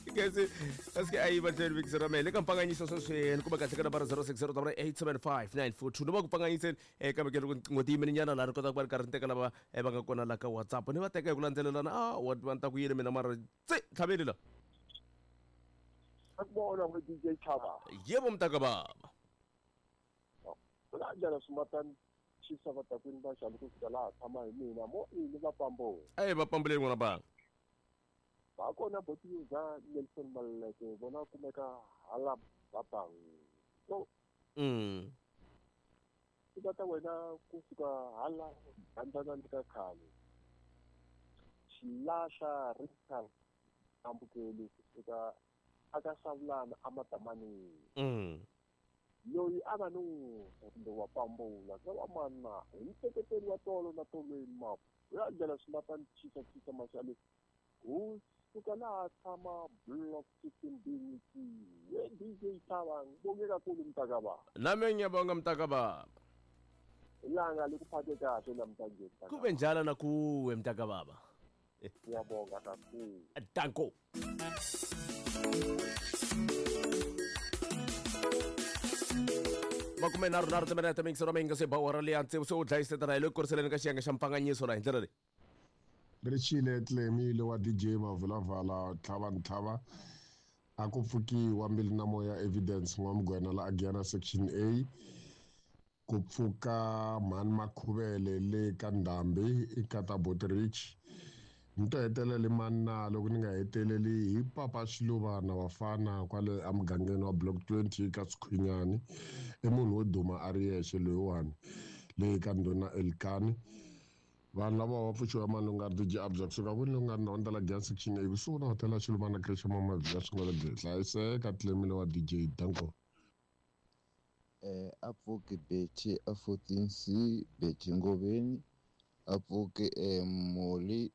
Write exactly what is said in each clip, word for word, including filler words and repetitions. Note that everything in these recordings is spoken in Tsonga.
Kasi kasi ayi batleli vikisera mele ka mpanganyiso sweswi ni kuma kahle ka nambara zero six zero eight seven five nine four two noma ku pfanganyiseni eh kambe ke loko tinqingho ti yimile nyana laha ni kotaka ku va ni karhi ni teka lava eh, va nga kona la ka WhatsApp ni va teka hi ku landzelelana ah wa va ni ta ku yini mina mara tse tlhaveli la Akubona we D J Chava. Yebo mntaka baba. Kanjani simatani chisa vatakwini va xana ku fika laha tshama hi mina mo ini va pambo. Eh va pambuleni n'wana banga. Va kona botiza Nelson Maleke vona kumeka hala babang. So mm. Tata wena ku fika hala bandana ka khale. Xilahla Richard ambukeli ku fika aka savulana amatamani. Mm. Loyi a va no kumbe wa pambula ka wa mana hi nseketelo wa tolo na tolweni mapu ya ndlela swimatani chisa chisa maxale hu suka laha tshama block fifteen B we D J Chava ngibonge kakhulu mntakababa. Nami ngiyabonga mntakababa. Ilanga likuphathe kahle namhlanje. Kube njalo nakuwe mntakababa. Ngiyabonga kakhulu. Danko. Makume nharhu nharhu timinete mingisero mingi se bawara leyi antse se u dlayisetana hi le kuriseleni ka xiyenge xa mpfanganyiso la hi ndlela leyi. Richile Tlemile wa D J Mavulavala tlhava ntlhava a ku pfukiwa Mbilu na Moya Evidence N'wamugwena la Agiana Section A ku pfuka Mhani Makhuvele le ka Ndhambi eka Bot Rich ni to heteleli manna loko ni nga heteleli hi papa Xiluvana wafana kwale emugangeni wa Block twenty ka Swikhwinyani i munhu wo duma a ri yexe loyiwani leyi ka ndhuna Elkani vanhu lava va pfuxiwa mani u nga ri D J Abza kusuka kwini loku nga ri na ndlela Giyani Section A kusuhi na hotela Xiluvana Creche Mama Via swi nga le byi hlayiseka Tlemile wa D J Danko. Eh a pfuki Betty a fourteen C Betty Ngoveni a pfuki eh Moli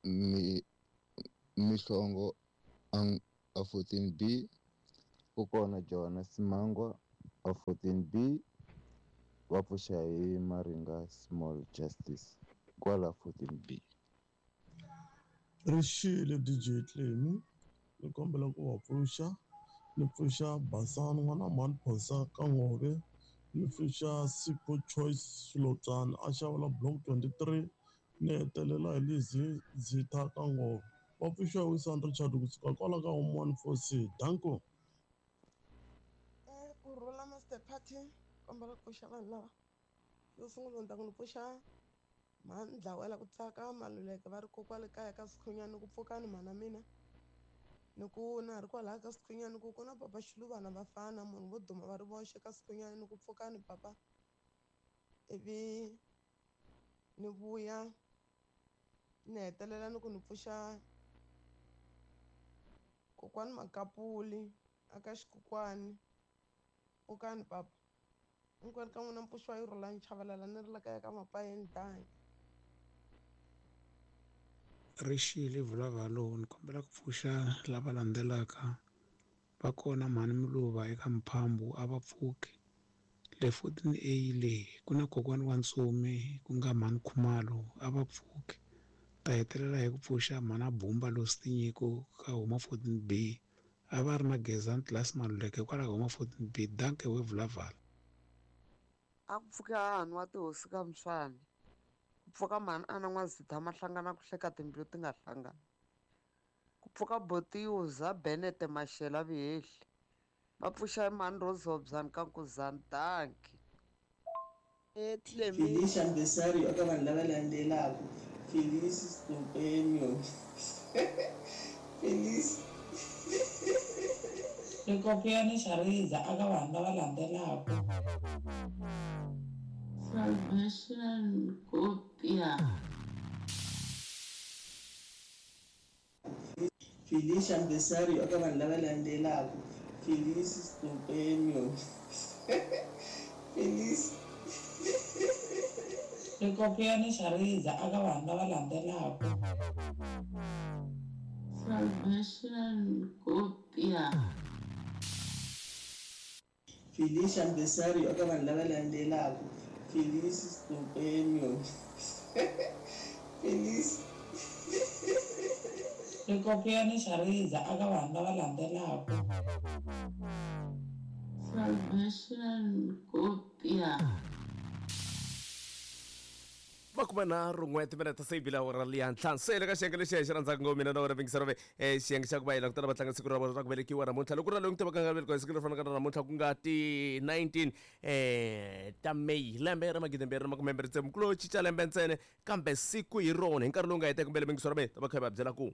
mi Mihlongo a fourteen B ku kona Johanna Simangwa a fourteen B va pfuxa hi Maringa Small Justice kwala fourteen B. Rixile D J Tlemi ni kombela ku va pfuxa ni pfuxa Basani n'wana mhani Phosa ka Ngove ni pfuxa Sipho Choice Xilotswana a xavela Block twenty-three ni hetelela hi Lizzy Zitha ka Ngove va pfuxiwa hi Wilson Richard kusuka kwala ka home one four C. Danko. Eh ku rhula Master Party kombela ku pfuxa vanhu lava yo sungula ni ta ku ni pfuxa mhani Dlawela ku tsaka Maluleke va ri kokwale kaya ka Swikhwinyani ku pfukani mhana mina ni ku na ri kwalaya ka Swikhwinyani ku ku na papa Xiluvana vafana munhu vo duma va ri voxe ka Swikhwinyani ni ku pfukani papa ivi ni vuya ni hetelela ni ku ni pfuxa kokwani Makapuli aka Xikokwani pfukani papa hinkwenu ka n'wina mpfuxiwa yi rhula ni chavelela ni ri la kaya ka Mapayeni danki. Rixile Vulavalo ni kombela ku pfuxa lava landzelaka va kona Mhani Muluva eka Mphambu a va pfuki le fourteen A le ku na kokwani wa Ntsomi ku nga Mhani Khumalo a va pfuki ta hetelela hi ku pfuxa Mhana Bumba Lostinyiko ka huma fourteen B a va ri na Gezani Class Maluleke kwalaho huma fourteen B danke we Vulavala. A ku pfuka hahani wa tihosi ka Mswani ku pfuka mhani ana N'wazitha mahlangana ku hleka timbilu ti nga hlangana ku pfuka Botiuza Benete Mashela Vihehli va pfuxa mhani Rozobzani ka Nkuzani danki. Felicia Mbesario eka vanhu lava landzelaka Felice Stompenio Felice Rikopiyani Xariza aka vanhu lava landzelaka Salvation Kopia Felicia Mbesario eka vanhu lava landzelaka Felice Stompenio Felice Rikopiyani Xariza aka vanhu lava landzelaka Salvation Kopia Felicia Mbesario eka vanhu lava landzelaka Felice Stompenio Felice Swikopiyani xa rindza aka vanhu lava landzelaka. Salvation Kopia. Makumenharhu n'we timinete se yi bile awara liya ntlhanu. Se le ka xiyenge lexi hi xi rhandzaka ngopfu mina na wena vingisero ve eh, xiyenge xa ku va hi langutana va tlanga siku ra vona ra ku velekiwa namuntlha. Loko ku ri na loyi n'wi tivaka nga velekiwa hi siku leri fanaka na namuntlha, ku nga ti nineteen eh, ta May lembe ra magidi mbirhi na makume mbirhi tsevu, ku lo cinca lembe ntsena kambe siku hi rona hi nkarhi lowu nga heteka kumbe le vingisero ve ta va kha hi va byela ku